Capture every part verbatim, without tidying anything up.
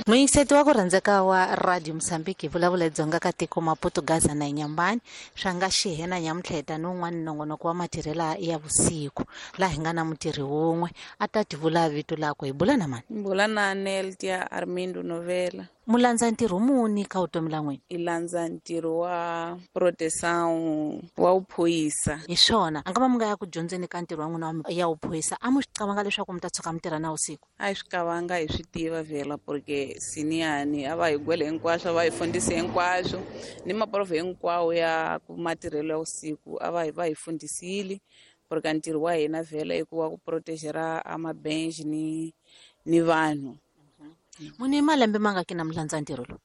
Muyingiseti wa ku rhandzeka wa Radio Mozambique hi vulavula Dzonga ka tiko Maputo Gaza na Inyambani swa nga xihena nyamutlheta ni un'wana nongonoko wa matirhela ya vusiku laha hi nga na mutirhi wun'we a ta tivula vito lakwe hi bula na mani bula na Neltia Armindo Novela. Mulandza ntirho muni ka vutomi la n'wina? I landza ntirho wa proteção wa uphoyisa. Hi swona a nga va mi nga ya ku dyondzeni ka ntirho wa n'wina ya uphoyisa a mu swi qavanga leswaku mi ta tshuka mi tirha na vusiku? A hi swi qavanga, hi swi tiva vhela porque siniyani a va hi gwele hinkwaswo, a va hi fundise hinkwaswo ni maprofe hinkwawo ya ku matirhelo ya vusiku a va hi va hi fundisile porque ntirho wa hina vhela i ku wa ku protegera a mabench ni ni vanhu. Muni malembe mangaki na mulandza ntirho lowu?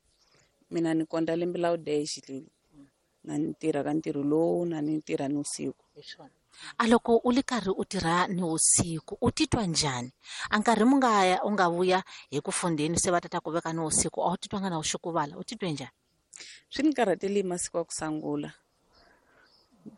Mina ni konta lembe la udeshi leli na ni tirha ka ntirho lowu na ni tirha ni usiku. A loko u li karhi u tirha ni usiku u titwa njhani? A nkarhi mu nga ya u nga vuya hi ku fundeni se va tata ku veka ni usiku a wu titwanga na u xukuvala, u titwe njhani? Swi ni karhatele masiku ya ku sungula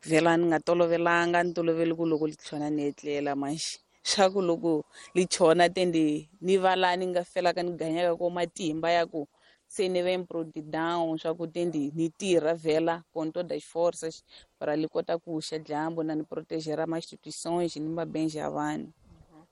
vhela ni nga tolovelanga, ni tolovele ku loko li tlhona ni etlela manjhe swa ku loko li chona tende ni va laha ni nga felaka ni ganyaka ko matimba ya ku se ni ve down swa ku tende ni tirha vhela com todas as forças para li kota ku xa dyambu na ni protegera ma instituições ni mabenje ya vanhu.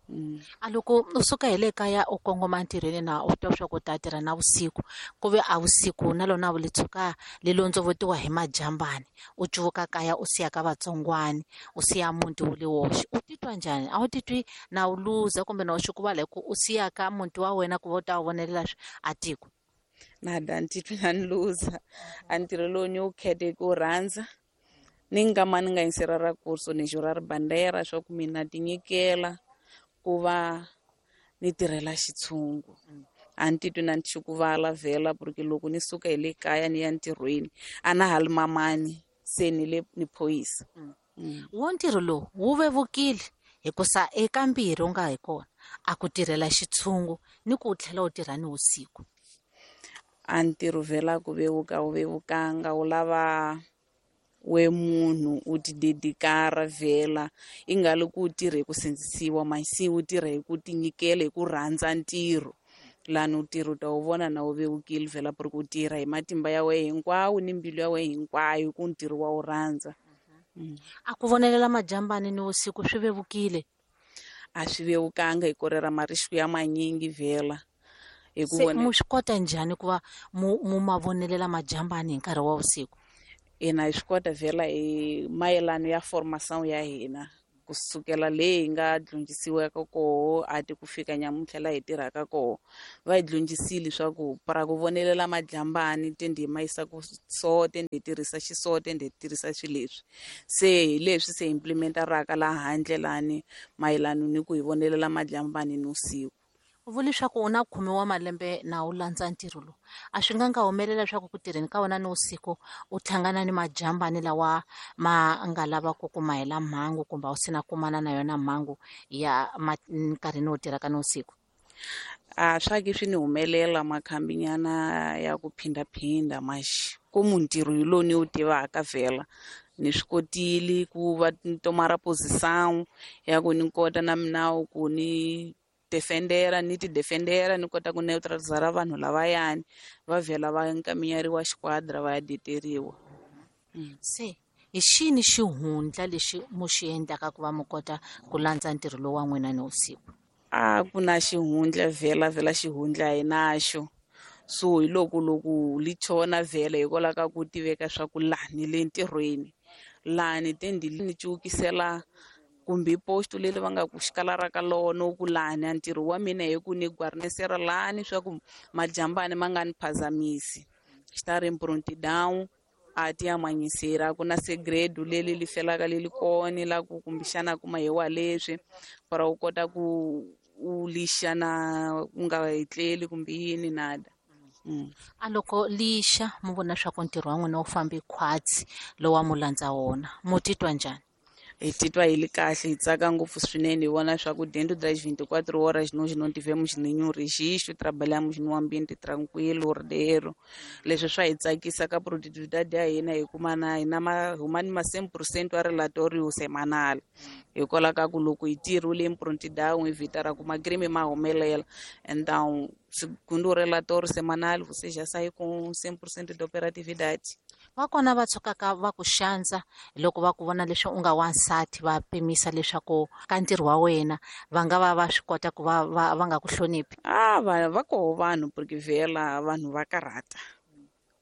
Mm. A loko u suka hi le kaya u kongoma ntirhweni na u twa swa ku ta tirha na vusiku ku ve a vusiku na lona vu li tshuka li londzovotiwa hi majambani u cuvuka kaya u siya ka vatsongwani u siya muti wu le woxe u titwa njhani? A wu titwi na u luza kumbe na u xukuvala hi ku u siya ka muti wa wena ku va u ta wu vonelela a tiko? Nada, ni titwi na ni luza. A ntirho lowu ni wu khete ku rhandza ni nga ma ni nga yingisela ra kurso ni jura ri bandera swa ku mina tinyikela ku va ni tirhela xitshungu. A ni titwi na ni xukuvala vhela porque loko ni suka hi le kaya ni ya ntirhweni a na ha li mamani se ni le ni phoyisa. Wo ntirho lowu wu vevukile hikusa eka mbirhi u nga hi kona a ku tirhela xitshungu ni ku u tlhela u tirha ni vusiku. A ntirho vhela ku vevuka wu vevukanga wu lava we munhu u ti dedikara vhela i nga li ku u tirha hi ku sindzisiwa masi u tirha hi ku tinyikela hi ku rhandza ntirho lani u tirha u ta wu vona na wu vevukile vhela porque u tirha hi matimba ya wena hinkwawo ni mbilu ya wena hinkwayo ku ntirho wa wu rhandza. A ku vonelela majambani ni vusiku swi vevukile? A swi vevukanga hi korera marisku ya manyingi vhela. Hi ku Se mu swi kota njhani ku va mu mu ma vonelela majambani hi nkarhi wa vusiku? Hina hi swi kota vhela hi mayelano ya formação ya hina kusukela leyi hi nga dyondzisiwaka koho a ti ku fika nyamuntlha laha hi tirhaka koho va hi dyondzisile swa ku para ku vonelela majambani tende hi ma yisa ku so tende hi tirhisa xiso tende hi tirhisa swilo leswi se hi leswi se implementaraka laha handle lani mayelano ni ku hi vonelela majambani ni vusiku. U vula leswaku u na khume wa malembe na u landza ntirho lowu a swi nga nga humelela leswaku ku tirheni ka wena ni vusiku u hlangana ni majambani lawa ma nga lavaka ku ma hela mhangu kumbe a wu sina kumana na yona mhangu ya nkarhini wo tirhaka ni vusiku? A swa ki swi ni humelela makhambinyana ya ku phindaphinda maxi ku muntirho hi lowu ni wu tivaka vhela ni swi kotile ku va ni tomara posição ya ku ni kota na minawu ku ni defendera ni ti defendera ni kota ku neutralizara vanhu lavayani va vhela va nkaminyeriwa xiquadra va ya deteriwa. Se hi xini xihundla lexi mu xi endlaka ku va mu kota ku landza ntirho lowu wa n'wina ni vusiku? A ku na xihundla vhela vhela xihundla hi naxo so hi loko loko li chona vhela hikwalaho ka ku tiveka swa ku lani le ntirhweni lani tendi ni cukisela kumbe posto leri va nga ku xikala ka lona ku lani a ntirho wa mina hi ku ni guarnesera lani swa ku majambani ma nga ni phazamisi estar em prontidão a ti amanyisera ku na segredo leli li felaka leli kona la ku kumbexana kuma hi wa leswi para u kota ku u lixa na u nga etleli kumbe yini nada. Mm. A loko lixa mu vona swa ku ntirho wa n'wina wu fambi khwatsi lowa mu landza wona mu titwa njhani? Hi titwa hi li kahle, hi tsaka ngopfu swinene, hi vona swa ku dentro das vinte e quatro horas nós não tivemos nenhum registro, trabalhamos num ambiente tranquilo, ordeiro. Leswi swa hi tsakisa ka productividade ya hina, hi kuma na hina ma huma ni ma cem por cento ya relatório semanal. Hikwalaho ka ku loko hi tirhile em prontidão, evitar ku macrime ma humelela. Então, segundo o relatório semanal, você já sai com cem por cento de operatividade. Va kona va tshukaka va ku xandza loko va ku vona leswi u nga wansati, va pimisa leswaku ka ntirho wa wena va nga va va swi kota ku va va va nga ku hloniphi? Ah, va va koho vanhu, porque vhela vanhu va karhata.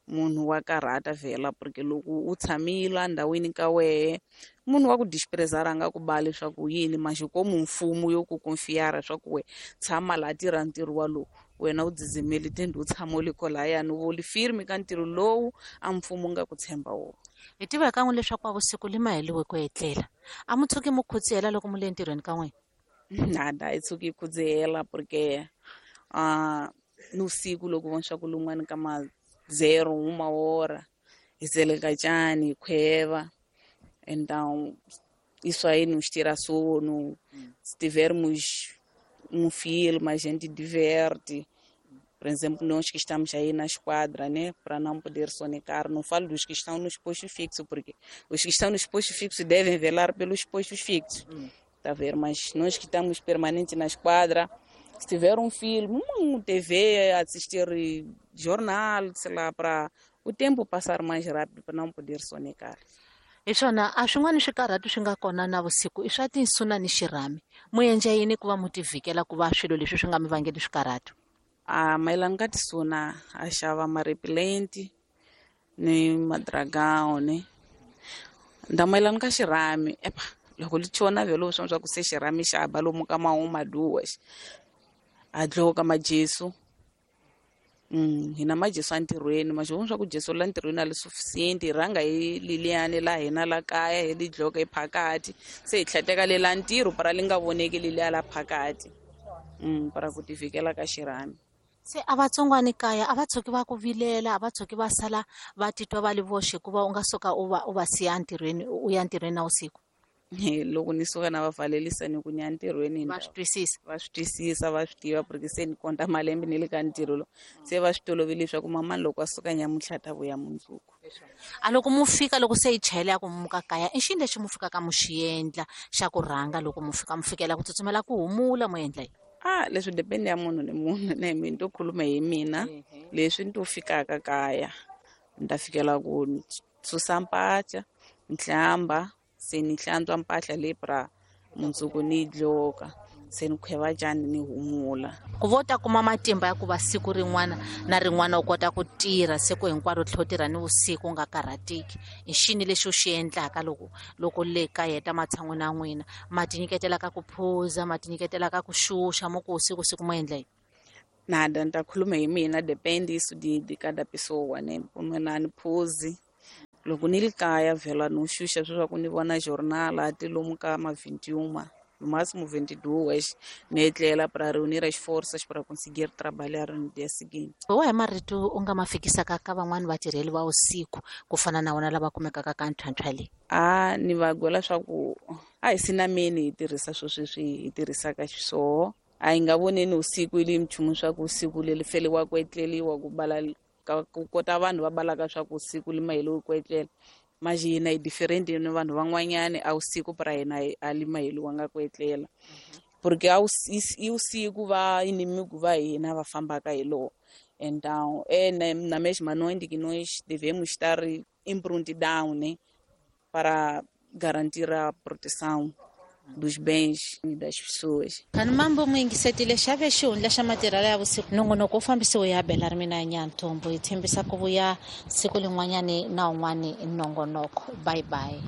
Munhu wa karhata vhela, porque loko u tshamile endhawini ka wehe, munhu wa ku desprezar a nga ku ba leswaku yini, maxi komu mfumo yo ku confiar swa ku we tshama laha tirha ntirho walowu, wena u dzizimeli tende u tshama u le kolayani, u vuli firme ka ntirho lowu a mfumo nga ku tshemba wona. Hi tiva kan'we leswaku a vusiku li maheliwe ku etlela, a mu tshuki mu khudzihela loko mu le ntirhweni ka n'wina? Nada, hi tshuki hi khudzihela, porque uh, ni vusiku loko vona swa ku lun'wani ka ma zero uma hora hi tseleka tjani, hi khweva. Então isso aí nos tira sono. Se tivermos um filme, a gente diverte. Por exemplo, nós que estamos aí na esquadra, né, para não poder sonecar, não falo dos que estão nos postos fixos, porque os que estão nos postos fixos devem velar pelos postos fixos, tá a ver? Mas nós que estamos permanentes na esquadra, se tiver um filme, um T V, assistir jornal, sei lá, para o tempo passar mais rápido, para não poder sonecar. Hi swona, a swin'wana swikarhatu swi nga kona na vusiku i swa tinsuna ni xirhami. Mu endla yini ku va mu tivhikela ku va swilo leswi swi nga mi vangeli swikarhatu? A mayelana ka tisuna, a xava ma-repellent ni ma-dragão, ne. Nda mayelana ka xirhami, epa, loko li chona vhele swa swa ku se xirhami xa ba lomu ka mahuma duas. A dloka majesu. Mm, hina majesu entirhweni, majesu swa ku jesu la ntirhweni a li suficiente, hi rhanga hi liliyani la hina la kaya, hi li dloka hi phakati, se hi tlheteka le la ntirho para li nga voneki leliya la phakati. Mm, para ku tivikela ka xirhami. Se a vatsongwani kaya a va tshuki va ku vilela, a va tshuki va sala va titwa va li voxe hikuva u nga suka u va u va siya ntirhweni, u ya ntirhweni na vusiku? Loko ni suka na va valelisa ni ku ni ya ntirhweni, Va swi twisisa? Va swi twisisa, va swi tiva, porque se ni konta malembe ni le ka ntirho lowu. Se va swi tolovele leswaku mamani loko a suka nyamuntlha ta vuya mundzuku. A loko mu fika, loko se yi chayela ya ku muka kaya, i xini lexi mu fikaka mu xi endla xa ku rhanga loko mu fika, mu fikela ku tsutsumela ku humula, mu endla yini? Ah, leswi depende ya munhu ni munhu, ne mina to khuluma hi mina. Leswi ni to fikaka kaya, ni ta fikela ku susa mpahla, ni hlamba, se ni hlantswa mpahla leyi pra mundzuku ni yi dloka, se ni khweva tjani ni humula. Ku vo ta kuma matimba ya ku va siku rin'wana na rin'wana u kota ku tirha siku hinkwaro, u tlhela u tirha ni vusiku u nga karhateki, i xini lexi u xi endlaka loko, loko le ka heta matshan'wini ya n'wina? Ma tinyiketela ka ku phuza, ma tinyiketela ka ku xuxa, mo ku siku siku mo endla yini? Nada, ni ta khuluma hi mina, depende isso de, de cada pessoa, né? Mina a ni phuzi. Loko ni li kaya vhela no xuxa leswaku ni vona jornal a ti lomu ka ma vinte e uma, no máximo vinte e duas, ni etlela para reunir as forças para conseguir trabalhar no dia seguinte. Wa hi marito u nga ma fikisaka ka van'wani vatirheli va vusiku ku fana na wona lava kumekaka ka ntlhantlha leyi? A ni va gwela swa ku a hi sinameni hi tirhisa swo sweswi hi tirhisaka xiswona. A hi nga voneni usiku ili nchumu swa ku usiku leri feliwa ku etleliwa ku bala ka ku kota vanhu va balaka swa ku usiku li maheliwi ku etlela. Mas hina hi different ni vanhu van'wanyani, a usiku pra hina a li maheliwanga ku etlela. Porque a i usiku va inimigo va hina va fambaka hi lowo. Então, é na, na mesma noite que nós devemos estar em prontidão, né, para garantir a proteção dos bens e das pessoas. Kani mambo mu yingisetile xave xihundla xa matirhelo ya vusiku. Nongonoko wu fambisiwe ya Bela ri mina Nyantombo. Hi tshembisa ku vuya siku lin'wanyani na un'wani nongonoko. Bye bye.